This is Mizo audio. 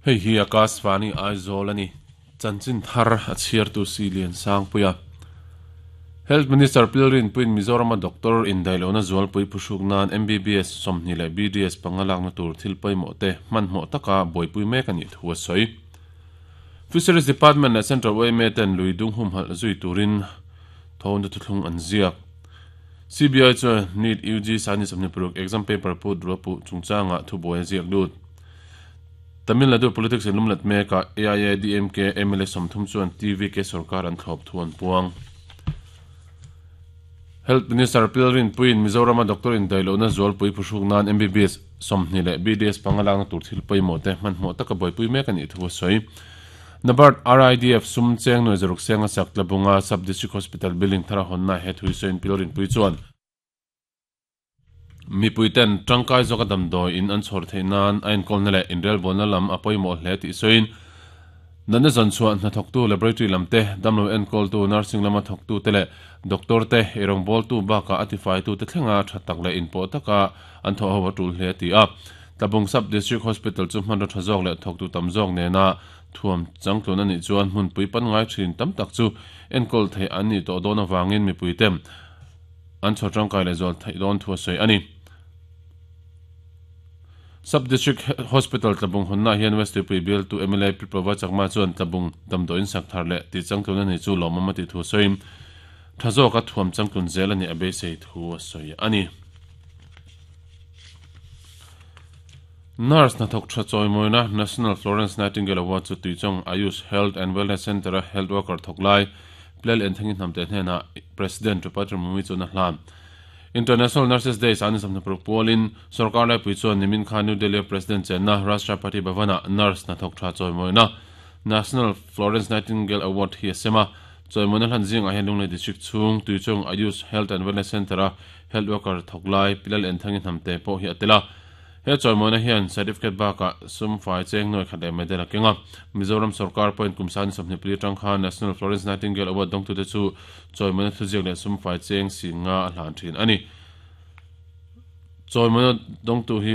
Hei hi Akashvani Aizawl a ni. Chanchin thar a chhiartu si Lian Sangpuia. Health Minister Pilrin puiin Mizorama doctor indaihlohna zualpui phuhruk nan MBBS 20 leh BDS panga lakna tur thil pawimawh te hmanhmawh taka buaipui mek a nih thu a sawi. Fisheries Department leh Central yma ten lui dung humhalh zui turin thawhna thuthlung an ziak. CBI chuan NEET UG sani 26 exam paper put ruapuh chungchangah thubuai a ziak lut. Tamil Nadu politics in lumlet mekah AIADMK mla 30 chuan TVK sorkar an thlawp thu an puang. Health Minister Pilrin puiin Mizorama doctor indaihlohna zualpui phuhruk nan MBBS 20 leh BDS panga lakna tur thil pawimawh te hmanhmawh taka buaipui mek a nih thu a sawi. NABARD RIDF sum cheng nuai zaruk senga sak Tlabunga Sub District Hospital building thar a hawnna he thu sawiin Pilrin pui chuan mipui ten tangkai zawka damdawi in an chhawr theih nan a enkawlna leh inrelbawlna lam a pawimawh hle tih sawiin natna zawn chhuah hnathawktu laboratory lam te, damlo enkawltu nursing lama thawktu te leh doctor te, eirawngbawltu bakah a tifaitu te thlenga tha tak leh inpawh taka an thawh ho a tul hle a ti a. Tlabung Sub District Hospital chu hmanraw tha zawk leh thawktu tam zawk nena thuam changtlun a nih chuan hmunpui panngai thin tam tak chu enkawl theih an nih tawh dawn avangin mipui te an chhawr tangkai leh zual theih dawn thu a sawi a ni. Sub District Hospital Tlabung hawnnaah hian West Tuipui bialtu mla Pi Prabha Chakma chuan Tlabung damdawiin sak thar leh tih changtlun a nih chu lawmawm a tih thu a sawiin tha zawka thuam changtlun zel a nih a beisei thu a sawi a ni. Nurse hnathawk tha chawimawina National Florence Nightingale Award chu Tuichawng Ayush Health and Wellness Centre-a health worker thawk lai Plel Enthangi Hnamte hnenah President Tripatra Murmu chuan a hlan. International Nurses Day san 26 pualin sorkar laipui chuan nimin khan New Delhi-a President chenna Rashtrapati Bhavan-ah nurse hnathawk tha chawimawina National Florence Nightingale Award hi a sem a. Chawimawina hlan zingah hian Lunglei District chhung Tuichawng Ayush Health and Wellness Centre-a health worker thawk lai Pilal Enthangi Hnamte pawh hi a tel a. He chawimawina hian certificate bakah sum fai cheng nuai khat leh medal a keng a. Mizoram sorkar pawhin kum sani 24 atang khan National Florence Nightingale Award dawngtute chu chawimawina thuziak leh sum fai cheng si nga a hlan thin a ni. Chawimawina dawngtu hi.